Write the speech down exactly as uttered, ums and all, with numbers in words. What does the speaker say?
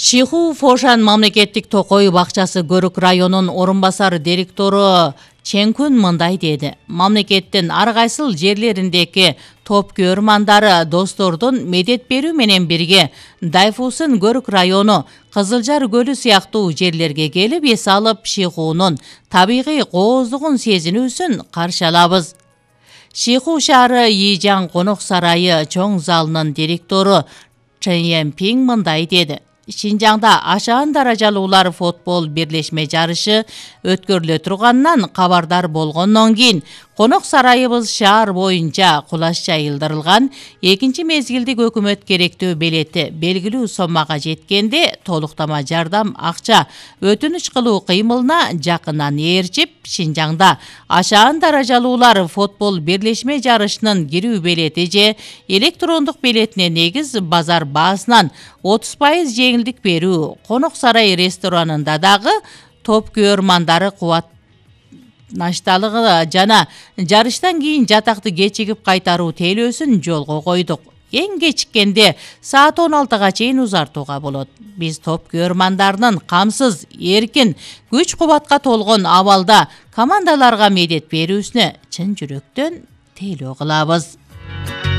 Шиху Фошан мамлекеттик токой бакчасы Көрүк районунун орун басар директору Ченкүн мындай деди. Мамлекеттин ар кайсыл жерлериндеги топ көрмандары достордун медет берүү менен бирге Дайфусын Көрүк району, Кызылжар көлү сыяктуу жерлерге келип эс алып, Шихунун табигый кооздугун сезинүүсүн каршы алабыз. Шиху шаары Ийжан конок сарайы чоң залынын директору Чен Пинг мындай деди. Шинжаңда ашаан даражалуулар футбол бирлешме жарышы өткөрүлө турганынан кабардар болгондон кийин конок сарайыбыз шаар боюнча кулаш жайылдырылган. Экинчи мезгилдик өкмөт керектүү белети белгилүү соммага жеткенде толуктама жардам акча өтүнүч кылуу кыймылына жакындан ээрчип, Шинжаңда ашаан даражалуулар футбол бирлешме жарышынын кирүү белети же электрондук белетине негиз базар баасынан отуз пайыз жеңилдик берүү. Конок сарай ресторанында дагы топ көрмандары кубат нашталыгы жана жарыштан кийин жатакты кечигип кайтаруу тейлөөсүн жолго койдук. Эң кечиккенде саат он алтыга чейин узартууга болот. Биз топ көрмандарынын камсыз, эркин, күч кубатка толгон абалда командаларга медет берүүсүнө чын жүрөктөн тейлөө кылабыз.